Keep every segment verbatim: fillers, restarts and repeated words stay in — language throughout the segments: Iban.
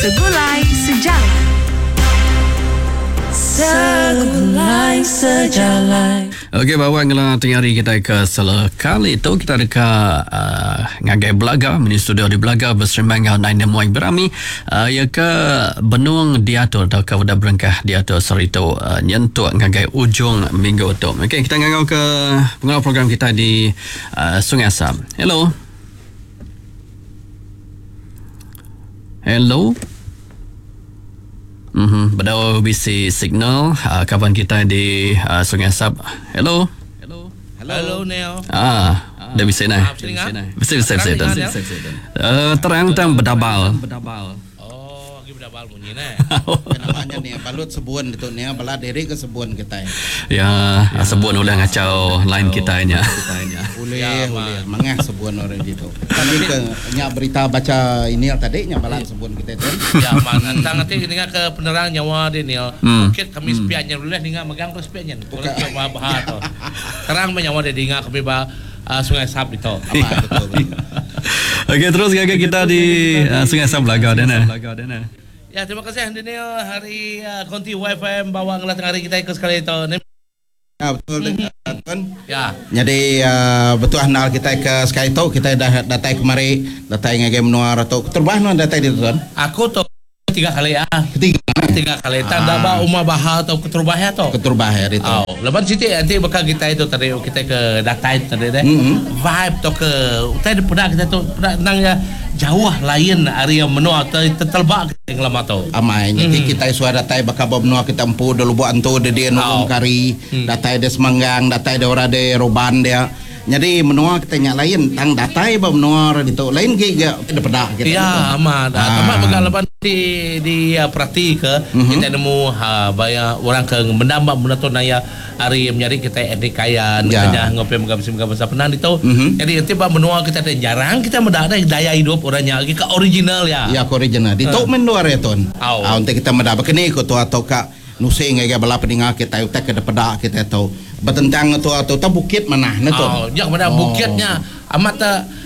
Segulai Sejalai. Segulai Sejalai. Okey, bawa ngela tengah hari kita ke sekali tu kita dekat uh, ngagai Belaga, mini studio di Belaga berserimbang dengan Nine Nemuai Berami uh, ya ke benung diatur atau ke udah berengkah diatur seritu uh, nyentuk ngagai ujung minggu tu. Okey, kita ngangau ke pengawal program kita di uh, Sungai Asam. Hello. Hello. Mhm, bedau bisi signal uh, kawan kita di uh, Sungai Asap. Hello. Hello. Hello Neil. Ah, dah bisa nah. Bisa bisa bisa. Eh terang tang bedabal. Oh, lagi bedabal bunyi nah. Namanya ni balut sebuan itu ni bala diri ke sebuan kita. Ya, sebuan ulah ngacau line kita nya. Boleh, boleh. Mangah sebuan orang itu. Tapi ke nya berita baca ini tadi nya balat sebuan kita tu. Ya, man. Tang nanti dengar ke penerang nyawa dia ni. Bukit kami sepiannya boleh dengar megang tu sepiannya. Boleh coba bahas tu. Terang nyawa dia dengar kami ba Sungai Sap itu. Okey, terus gaya kita di Sungai Sap Belaga dah nah. Ya, terima kasih Daniel hari uh, Konti Y F M bawa ngelah tengah hari kita ikut sekali itu. Ya, betul mm-hmm. Tuan. Ya. Jadi uh, betul handal kita ke sekali tu kita dah datang kemari, datang ngagai menua atau terbah nuan datang di tuan. Aku tu tiga kali ah. Ketiga. Tiga kali. Tanda ba umah baha atau keterbah ya tu. Keterbah ya itu. Oh, lepas situ nanti bakal kita itu tadi kita ke datang tadi deh. Mm-hmm. Vibe tu ke utai pernah kita tu pernah nang ya jauh lain area menua tertelbak yang lama tu. Amai mm. Jadi kita suara datai bakal menua kita empu dulu buat antu dia dia nulung oh. kari, mm. datai dia Semanggang, datai dia orang dia Roban dia. Jadi menua kita nyak lain tang datai ba menua orang itu lain ge ge pedak kita. Ya, amat. Ah. Amat bakal lepas di di uh, perhati ke mm-hmm. kita nemu ha banyak orang ke mendambak benda tu naya hari mencari kita etnik kaya ya. Kenya ngopi megam megam besar penang itu. Mm-hmm. Jadi nanti ba menua kita ada jarang kita mendak ada daya hidup orangnya ke original ya. Ya ke original. Di tok uh. menua ya tuan. Oh. Ah untuk kita mendak kene ko tu atau ka nusing ngagai bala peninga kita utak ke pedak kita tu. Bertentang tu atau tu bukit mana nah tu. Oh, ya mana oh. Bukitnya amat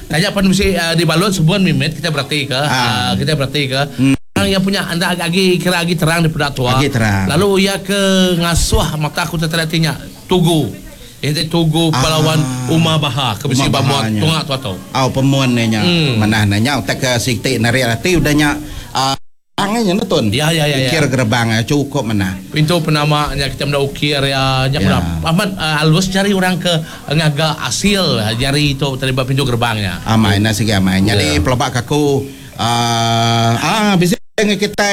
tanya pan mesti uh, di balut sebuan mimit kita berarti ke ah. uh, kita berarti ke hmm. Orang yang punya anda agak kira lagi terang di pedak tua. Lagi terang. Lalu ia ke ngasuh mata aku tertelatinya tugu. Ini tugu ah. pahlawan Umar Baha ke besi bamuat tungak tu atau. Oh, pemuan nya. Hmm. Mana nanya utak ke siktik nari hati udahnya uh, nya nonton. Ya ya ya. Ukir ya. gerbang ya, cukup mana. Pintu penamanya kita menda ukir ya, nya ya. Amat uh, halus cari orang ke ngaga asil jari itu terlibat pintu gerbangnya. Amai na sigi amai. Jadi ya. pelabak aku uh, ah bisa kita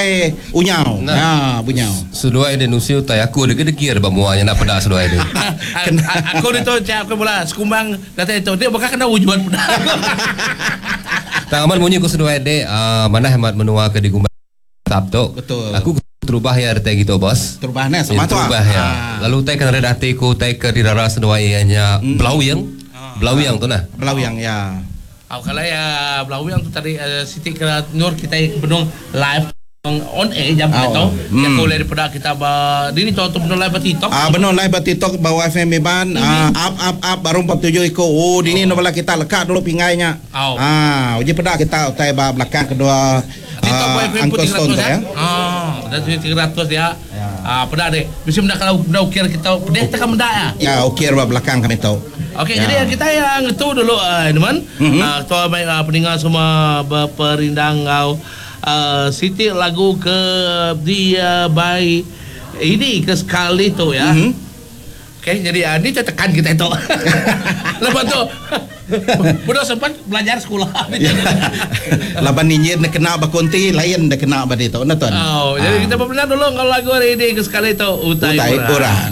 unyau. Nah. Ha bunyau. Seduai dia nusiu tai aku dia kedekir ba muanya nak pedak seduai dia. Aku ni tu cak aku bola sekumbang datang itu dia bakal kena wujuan pedak. Tak aman bunyi ku seduai dia uh, mana hemat menua ke di Gumbang Sabtu. Betul. Aku terubah ya retai gitu bos. Terubah ne sama ya, tu. Terubah ya. Ah. Lalu tai kena hati ku tai ke dirara seduai nya hmm. Belawing. Belawing tu nah. Belawing ya. Oh, kalau ya Belawing tu tadi uh, Siti ke Nur kita benung live on air jam Oh. itu. Hmm. Yang boleh daripada kita ba dini tu tu benung live ba TikTok. Ah benar live ba TikTok bawa F M Iban. Mm-hmm. Ah up up up baru empat puluh tujuh iko. Oh dini oh. Bala kita lekat dulu pingainya. Oh. Ah uji pedak kita utai ba belakang kedua. TikTok Uh, F M Uncle pun Stone tiga ratus tu ya. Ah, dah tiga ratus dia. Ah, pedak deh. Bisa mendak kalau benda ukir kita pedih tekan mendak ya. Ya ukir ba belakang kami tu. Okey, Ya. jadi kita yang itu dulu uh, teman. Mm-hmm. Uh, tuan baik uh, pendengar semua berperindang kau uh, Siti lagu ke dia by ini ke sekali tu ya. Mm-hmm. Okey, jadi uh, ni tekan kita itu. Lepas tu Budak sempat belajar sekolah. Ya. Laban ninjir dia kena bakonti lain dia kena ba itu nah tuan. Oh, jadi Ah. kita berpenang dulu kalau lagu hari ini ke sekali tu utai, Utai orang. orang.